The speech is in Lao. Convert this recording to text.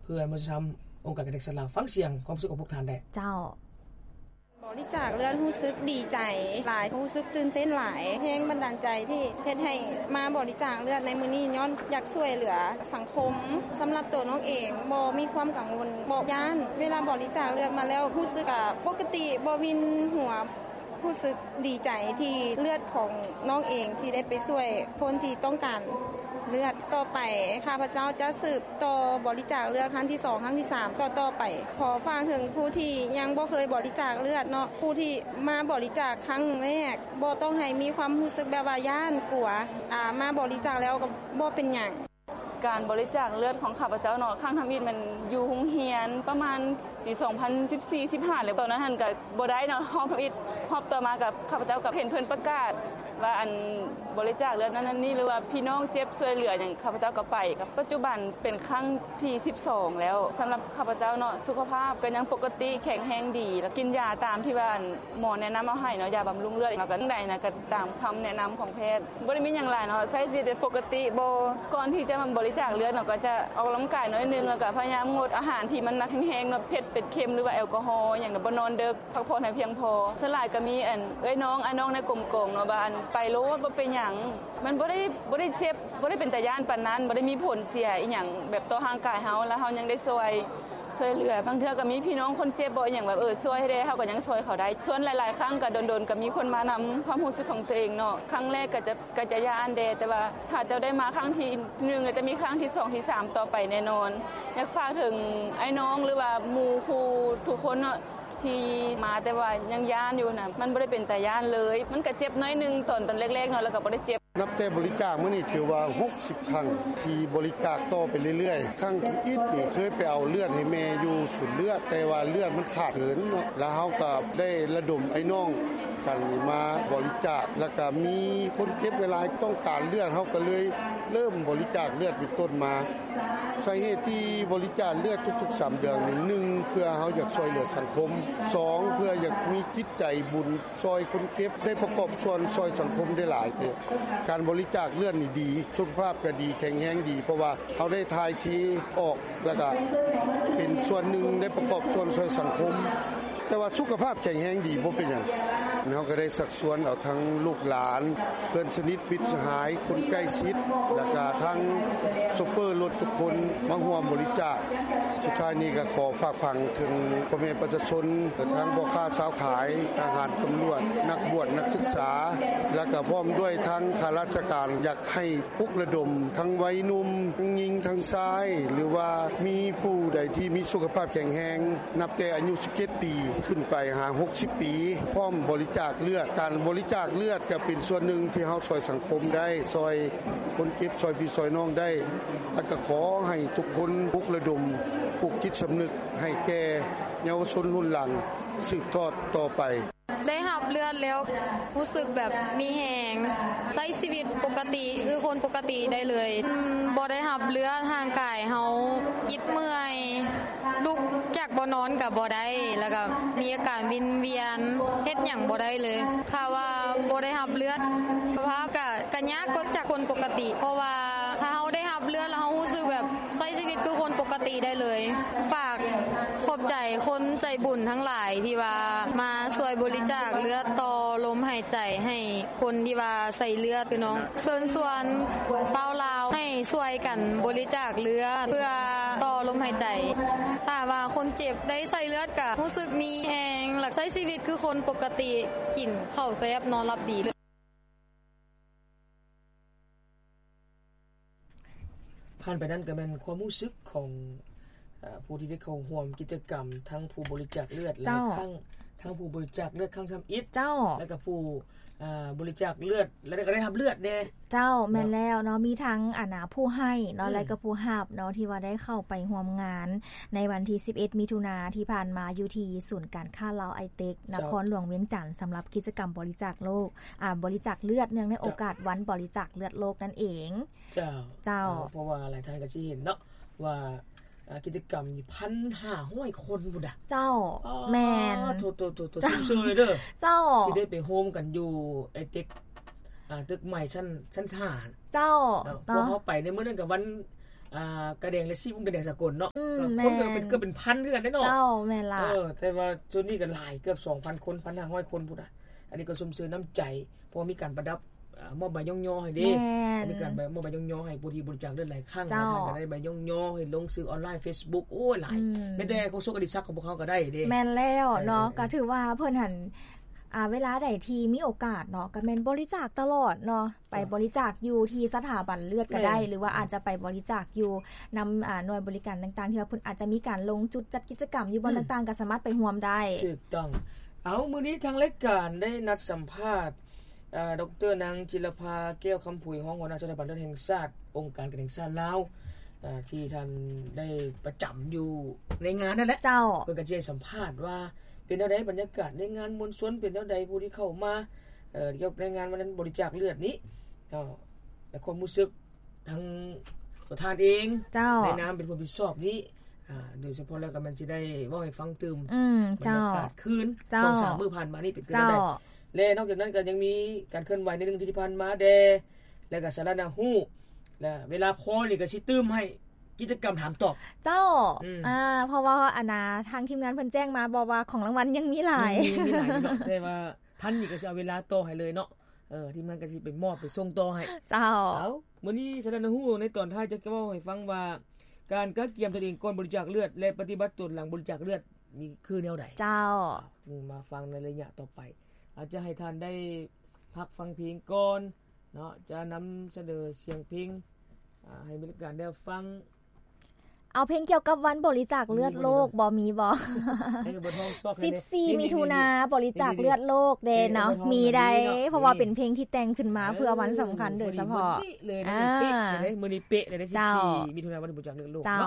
ເພື່ອມາທຳອົງການການແຂກສັດລາວ. ຟັງສຽງຄວາມຮູ້ສຶກຂອງພວກທ່ານໄດ້. ເຈົ້າ. ບໍລິຈາກເລືອດຮູ້ສຶກດີໃຈຫຼາຍ, ຮູ້ສຶກຕື່ນເຕັ້ນຫຼາຍ, ແຮງບັນດານໃຈທີ່ເຮັດໃຫ້ມາບໍລິຈາກເລືອດໃນມື້ນີ້ ຍ້ອນຢາກຊ່ວຍເຫຼືອສັງຄົມ. ສຳລັບໂຕນ້ອງເອງບໍ່ມີຄວາມກັງວົນ, ບໍ່ຢ້ານ. ເວລາບໍລິຈາກເລືອດມາແລ້ວ ຮູ້ສຶກ ອາ ປົກກະຕິ, ບໍ່ວິນຫົວ. ຮູ້ສຶກດີໃຈທີ່ເລືອດຂອງນ້ອງເອງທີ່ໄດ້ໄປຊ່ວຍຄົນທີ່ຕ້ອງການເລືອດ. ຕໍ່ໄປຂ້າພະເຈົ້າຈະສືບຕໍ່ບໍລິຈາກເລືອດຄັ້ງທີສອງ, ຄັ້ງທີສາມ ຕໍ່ໆໄປ. ຂໍຝາກເຖິງຜູ້ທີ່ຍັງບໍ່ເຄີຍບໍລິຈາກເລືອດເນາະ, ຜູ້ທີ່ມາບໍລິຈາກຄັ້ງແລກ ບໍ່ຕ້ອງໃຫ້ມີຄວາມຮູ້ສຶກແບບວ່າຢ້ານ, ກົວ, ອາ, ມາບໍລິຈາກແລ້ວກໍບໍ່ເປັນຫຍັງ. ການບໍລິຈາກເລືອດຂອງຂ້າພະເຈົ້າເນາະ ຄັ້ງທຳອິດແມ່ນຢູ່ໂຮງຮຽນປະມານປີສອງພັນສິບສີ່ ສິບຫ້າ ແລ້ວ. ຕອນນັ້ນຫັ້ນກະບໍ່ໄດ້ເນາະ, ຮອບທຳອິດ ຮອບຕໍ່ມາກັບຂ້າພະເຈົ້າກໍເຫັນເພິ່ນປະກາດວ່າ ອັນ ບໍລິຈາກເລືອດນັ້ນນັ້ນນີ້ ຫຼືວ່າພີ່ນ້ອງເຈັບຊ່ວຍເຫຼືອຫຍັງ ຂ້າພະເຈົ້າກໍໄປ. ປັດຈຸບັນເປັນຄັ້ງທີສິບສອງແລ້ວ. ສຳລັບຂ້າພະເຈົ້າເນາະ ສຸຂະພາບກໍຍັງປົກກະຕິ ແຂງແຮງດີ ແລະ ກິນຢາຕາມທີ່ວ່າ ອັນ ໝໍແນະນຳເອົາໃຫ້ເນາະ, ຍາບຳລຸງເລືອດ. ເຮົາກໍຈັ່ງໃດນະ ກໍຕາມຄຳແນະນຳຂອງແພດ. ບໍ່ໄດ້ມີຫຍັງຫຼາຍເນາະ, ໃຊ້ຊີວິດເປັນປົກກະຕິ. ບໍ່ ກ່ອນທີ່ຈະມາບໍລິຈາກເລືອດເນາະ ກໍຈະອອກກຳລັງກາຍໜ້ອຍໜຶ່ງ, ແລ້ວກໍພະຍາຍາມງົດອາຫານທີ່ມັນໜັກແຮງໆເນາະ, ເຜັດເປັນເຄັມ ຫຼືວ່າແອລກໍຮໍຫຍັງເນາະ, ບໍ່ນອນເດິກ, ພັກຜ່ອນໃຫ້ພຽງພໍ. ສ່ວນຫຼາຍກໍມີ ອັນ ເອື້ອຍນ້ອງ ອ້າຍນ້ອງໃນກົມກອງເນາະ ວ່າ ອັນ ໄປໂລດ ບໍ່ເປັນຫຍັງ. ມັນບໍ່ໄດ້ ບໍ່ໄດ້ເຈັບ, ບໍ່ໄດ້ເປັນຕາຢ້ານປານນັ້ນ, ບໍ່ໄດ້ມີຜົນເສຍອີ່ຫຍັງແບບຕໍ່ຮ່າງກາຍເຮົາ, ແລ້ວເຮົາຍັງໄດ້ຊ່ວຍ ຊ່ວຍເຫຼືອ. ບາງເທື່ອກໍມີພີ່ນ້ອງຄົນເຈັບບໍ ອີ່ຫຍັງແບບ ເອີ ຊ່ວຍໃຫ້ແດ່, ເຮົາກໍຍັງຊ່ວຍເຂົາໄດ້. ສ່ວນຫຼາຍໆຄັ້ງກໍດົນໆກໍມີຄົນມານຳຄວາມຮູ້ສຶກຂອງຕົວເອງເນາະ. ຄັ້ງແລກກໍຈະ ກໍຈະຢ້ານແດ່, ແຕ່ວ່າຖ້າເຈົ້າໄດ້ມາຄັ້ງທີໜຶ່ງ ແລ້ວຈະມີຄັ້ງທີສອງ ທີສາມຕໍ່ໄປແນ່ນອນ. ຢາກຝາກເຖິງອ້າຍນ້ອງ ຫຼືວ່າໝູ່ຄູ່ທຸກຄົນເນາະ ທີ່ມາແຕ່ວ່າຍັງຢ້ານຢູ່ນະ, ມັນບໍ່ໄດ້ເປັນຕາຢ້ານເລີຍ. ມັນກະເຈັບໜ້ອຍໜຶ່ງຕອນ ຕອນແລກໆເນາະ, ແລ້ວກໍບໍ່ໄດ້ເຈັບ. ນັບແຕ່ບໍລິຈາກມານີ້ ຖືວ່າຫົກສິບຄັ້ງທີ່ບໍລິຈາກຕໍ່ໄປເລື້ອຍໆ. ຄັ້ງທຳອິດນີ້ເຄີຍໄປເອົາເລືອດໃຫ້ແມ່ຢູ່ສູນເລືອດ, ແຕ່ວ່າເລືອດມັນຂາດເຂີນເນາະ, ແລ້ວເຮົາກໍໄດ້ລະດົມອ້າຍນ້ອງກັນມາບໍລິຈາກ, ແລ້ວກໍມີຄົນເຈັບຫຼາຍໆຕ້ອງການເລືອດ, ເຮົາກໍເລີຍເລີ່ມບໍລິຈາກເລືອດເປັນຕົ້ນມາ. ສາເຫດທີ່ບໍລິຈາກເລືອດທຸກໆສາມເດືອນນີ້ ໜຶ່ງ ເພື່ອເຮົາຢາກຊ່ວຍເຫຼືອສັງຄົມ, ສອງ ເພື່ອຢາກມີຈິດໃຈບຸນ ຊ່ອຍຄົນເຈັບ, ໄດ້ປະກອບສ່ວນຊ່ອຍສັງຄົມໄດ້ຫຼາຍເຕີບ. ການບໍລິຈາກເລືອດນີ້ດີ, ສຸຂະພາບກໍດີ, ແຂງແຮງດີ, ເພາະວ່າເຮົາໄດ້ຖ່າຍເທອອກ ແລ້ວກໍເປັນສ່ວນໜຶ່ງໄດ້ປະກອບສ່ວນຊ່ວຍສັງຄົມ. ແຕ່ວ່າສຸຂະພາບແຂງແຮງດີບໍ່ເປັນຫຍັງ. ເຮົາກໍໄດ້ຊັກຊວນເອົາທັງລູກຫຼານ, ເພື່ອນສະໜິດ, ມິດສະຫາຍ, ຄົນໃກ້ຊິດ ແລ້ວກໍທັງໂຊເຟີລົດທຸກຄົນມາຮ່ວມບໍລິຈາກ. ສຸດທ້າຍນີ້ກໍຂໍຝາກຝັງເຖິງພໍ່ແມ່ປະຊາຊົນ, ທັງພໍ່ຄ້າຊາວຂາຍ, ທະຫານ, ຕຳຫຼວດ, ນັກບວດ, ນັກສຶກສາ ແລ້ວກໍພ້ອມດ້ວຍທັງຂ້າລາຊະການ, ຢາກໃຫ້ປຸກລະດົມທັງໄວໜຸ່ມ, ທັງຍິງ, ທັງຊາຍ ຫຼືວ່າມີຜູ້ໃດທີ່ມີສຸຂະພາບແຂງແຮງ ນັບແຕ່ອາຍຸສິບເຈັດປີຂຶ້ນໄປຫາຫົກສິບປີ ພ້ອມບໍລິຈາກເລືອດ. ການບໍລິຈາກເລືອດກໍເປັນສ່ວນໜຶ່ງທີ່ເຮົາຊ່ອຍສັງຄົມໄດ້, ຊ່ອຍຄົນເຈັບ, ຊ່ອຍພີ່ຊ່ອຍນ້ອງໄດ້. ແລ້ວກໍຂໍໃຫ້ທຸກຄົນປຸກລະດົມ, ປຸກຈິດສຳນຶກໃຫ້ແກ່ເຍົາວະຊົນລຸ້ນຫຼັງສືບທອດຕໍ່ໄປ. ໄດ້ຮັບເລືອດແລ້ວຮູ້ສຶກແບບມີແຮງ, ໃຊ້ຊີວິດປົກກະຕິຄືຄົນປົກກະຕິໄດ້ເລີຍ. ບໍ່ໄດ້ຮັບເລືອດ ຮ່າງກາຍເຮົາອິດເມື່ອຍ, ລຸກຈາກບ່ອນນອນກໍບໍ່ໄດ້, ແລ້ວກໍມີອາການວິນວຽນ, ເຮັດຫຍັງບໍ່ໄດ້ເລີຍ. ຖ້າວ່າບໍ່ໄດ້ຮັບເລືອດ ສະພາບກໍ ກໍຍາກກວ່າຈາກຄົນປົກກະຕິ, ເພາະວ່າຖ້າເຮົາໄດ້ຮັບເລືອດແລ້ວ ເຮົາຮູ້ສຶກແບບໃຊ້ຊີວິດຄືຄົນປົກກະຕິໄດ້ເລີຍ. ຝາກຂອບໃຈຄົນໃຈບຸນທັງຫຼາຍທີ່ວ່າມາຊ່ວຍບໍລິຈາກເລືອດຕໍ່ລົມຫາຍໃຈໃຫ້ຄົນທີ່ວ່າໃສ່ເລືອດ. ພີ່ນ້ອງເຊີນຊວນຊາວລາວໃຫ້ຊ່ວຍກັນບໍລິຈາກເລືອດເພື່ອຕໍ່ລົມຫາຍໃຈ. ຖ້າວ່າຄົນເຈັບໄດ້ໃສ່ເລືອດກະຮູ້ສຶກມີແຮງ ແລະ ໃຊ້ຊີວິດຄືຄົນປົກກະຕິ, ກິນເຂົ້າແຊບ ນອນຫຼັບດີ. ຜ່ານໄປນັ້ນກໍແມ່ນຄວາມຮູ້ສຶກຂອງ ເອີ ຜູ້ທີ່ໄດ້ເຂົ້າຮ່ວມກິດຈະກຳ ທັງຜູ້ບໍລິຈາກເລືອດ ແລະ ເຈົ້າ ທັງ ທັງຜູ້ບໍລິຈາກເລືອດຄັ້ງທຳອິດ ເຈົ້າ ແລະກໍຜູ້ ເອີ ບໍລິຈາກເລືອດ ແລະກໍໄດ້ຮັບເລືອດແດ່. ເຈົ້າ ເນາະ ແມ່ນແລ້ວເນາະ, ມີທັງ ອັນນ່າ ຜູ້ໃຫ້ເນາະ ອືມ ແລະກໍຜູ້ຮັບເນາະ ທີ່ວ່າໄດ້ເຂົ້າໄປຮ່ວມງານໃນວັນທີສິບເອັດ ມິຖຸນາທີ່ຜ່ານມາ ຢູ່ທີ່ສູນການຄ້າລາວໄອເຕັກ ເຈົ້າ ນະຄອນຫຼວງວຽງຈັນ ສຳລັບກິດຈະກຳບໍລິຈາກໂລກ ອາ ບໍລິຈາກເລືອດ ເນື່ອງໃນໂອກາດ ເຈົ້າ ວັນບໍລິຈາກເລືອດໂລກນັ້ນເອງ. ເຈົ້າ ເຈົ້າ ເພາະວ່າຫຼາຍທ່ານກໍຊິເຫັນເນາະວ່າ ອາ ກິດຈະກຳນີ້ ພັນຫ້າຮ້ອຍຄົນພຸ້ນນະ. ເຈົ້າ ອໍ ແມ່ນ ໂທ້ໆໆ ເຈົ້າ ຊຸມຊື່ເລີຍເດີ ເຈົ້າ ທີ່ໄດ້ໄປໂຮມກັນຢູ່ໄອເຕັກ ອາ ຕຶກໃໝ່ຊັ້ນ ຊັ້ນຫ້າ ເຈົ້າ ເນາະ ເນາະ ພວກເຮົາໄປໃນມື້ນັ້ນກໍວັນ ອ່າ ກະແດງລະສີ່ວົງກະແດງສາກົນເນາະ ອືມ ກໍຄົນກໍເປັນ ແມ່ນ ເກືອບເປັນພັນຄືກັນເດ້ເນາະ. ເຈົ້າ ແມ່ນລະ ເອີ ແຕ່ວ່າຈຸດນີ້ກໍຫຼາຍ ເກືອບສອງພັນຄົນ ພັນຫ້າຮ້ອຍຄົນພຸ້ນນະ. ອັນນີ້ກໍຊົມເຊີຍນ້ຳໃຈ ເພາະວ່າມີການປະດັບ ອ່າ ມອບໃບຍ້ອງຍໍໃຫ້ເດ້. ແມ່ນ ມີການໃບ ມອບໃບຍ້ອງຍໍໃຫ້ຜູ້ທີ່ບໍລິຈາກເລືອດຫຼາຍຄັ້ງ ເຈົ້າ ຫຼາຍທ່ານກໍໄດ້ໃບຍ້ອງຍໍໃຫ້ລົງຊື່ອອນລາຍ ເຟສບຸກ ໂອ້ຍ ຫຼາຍ ອືມ ແມ້ແຕ່ໂຄສົກອະດີສັກຂອງພວກເຮົາກໍໄດ້ເດ້. ແມ່ນແລ້ວເນາະ ເອີ ກໍຖືວ່າເພິ່ນຫັ້ນ ອ່າ ເວລາໃດທີ່ມີໂອກາດເນາະ ກໍແມ່ນບໍລິຈາກຕະຫຼອດເນາະ. ໄປ ເຈົ້າ ບໍລິຈາກຢູ່ທີ່ສະຖາບັນເລືອດກໍໄດ້ ແມ່ນ ຫຼືວ່າອາດຈະໄປບໍລິຈາກຢູ່ນຳ ອ່າ ໜ່ວຍບໍລິການຕ່າງໆ ທີ່ວ່າເພິ່ນອາດຈະມີການລົງຈຸດຈັດກິດຈະກຳຢູ່ບ່ອນ ອືມ ຕ່າງໆ ກໍສາມາດໄປຮ່ວມໄດ້. ຖືກຕ້ອງ. ເອົາ ມື້ນີ້ທາງລາຍການໄດ້ນັດສຳພາດ ອ່າ ດອກເຕີ ນາງ ຈິລະພາ ແກ້ວຄຳຜຸຍ ຮອງຫົວໜ້າສະຖາບັນເລືອດແຫ່ງຊາດ ອົງການການແຫ່ງຊາດລາວ ອ່າ ທີ່ທ່ານໄດ້ປະຈຳຢູ່ໃນງານນັ້ນແຫຼະ. ເຈົ້າ ເພິ່ນກໍຈະໃຫ້ສຳພາດວ່າ ເປັນແນວໃດ ບັນຍາກາດໃນງານມວນຊົນເປັນແນວໃດ ຜູ້ທີ່ເຂົ້າມາ ເອີ ກ່ຽວກັບໃນງານວັນນັ້ນ ບໍລິຈາກເລືອດນີ້ ເອີ ແລະ ຄວາມຮູ້ສຶກທາງຕົວທ່ານເອງ ເຈົ້າ ໃນນາມເປັນຜູ້ຮັບຜິດຊອບນີ້ ອາ ໂດຍສະເພາະແລ້ວກໍແມ່ນຊິໄດ້ເວົ້າໃຫ້ຟັງຕື່ມ ອືມ ບັນຍາກາດ ເຈົ້າ ຄືນ ເຈົ້າ ສອງສາມມື້ຜ່ານມານີ້ເປັນແນວໃດ ເຈົ້າ ແລະ ນອກຈາກນັ້ນກໍຍັງມີການເຄື່ອນໄຫວໃນໜຶ່ງອາທິດທີ່ຜ່ານມາແດ່ ແລ້ວກໍສາລະໜ້າຮູ້ ແລະ ເວລາພໍນີ້ກໍຊິຕື່ມໃຫ້ກິດຈະກຳຖາມຕອບ ເຈົ້າ ອືມ ອ່າ ເພາະວ່າ ອັນນ່າ ທາງທີມງານເພິ່ນແຈ້ງມາບອກວ່າຂອງລາງວັນຍັງມີຫຼາຍ ຍັງມີ ມີຫຼາຍຢູ່ເນາະ ແຕ່ວ່າ ທັນນີ້ກໍຊິເອົາເວລາຕໍ່ໃຫ້ເລີຍເນາະ ເອີ ທີມງານກໍຊິໄປມອບໄປສົ່ງຕໍ່ໃຫ້ ເຈົ້າ ເອົາ ມື້ນີ້ສາລະໜ້າຮູ້ໃນຕອນທ້າຍຈະເວົ້າໃຫ້ຟັງວ່າ ການກະກຽມຕົນເອງກ່ອນບໍລິຈາກເລືອດ ແລະ ປະຕິບັດຕົນຫຼັງບໍລິຈາກເລືອດນີ້ຄືແນວໃດ ເຈົ້າ ມາຟັງໃນໄລຍະຕໍ່ໄປ ອາດຈະໃຫ້ທ່ານໄດ້ພັກຟັງເພງກ່ອນເນາະ ຈະນຳສະເໜີສຽງເພງ ອາ ໃຫ້ມີການໄດ້ຟັງ ເອົາເພງກ່ຽວກັບວັນບໍລິຈາກເລືອດໂລກ ມີບໍ່ ມີບໍ່? ສິບສີ່ມິຖຸນາ ບໍລິຈາກເລືອດໂລກເດ້ເນາະ ມີໄດ້ ເພາະວ່າເປັນເພງທີ່ແຕ່ງຂຶ້ນມາເພື່ອວັນສຳຄັນໂດຍສະເພາະ ມື້ນີ້ເປະເລີຍ ມື້ນີ້ເປະເລີຍ ສິບສີ່ມິຖຸນາ ວັນບໍລິຈາກເລືອດໂລກເນາະ.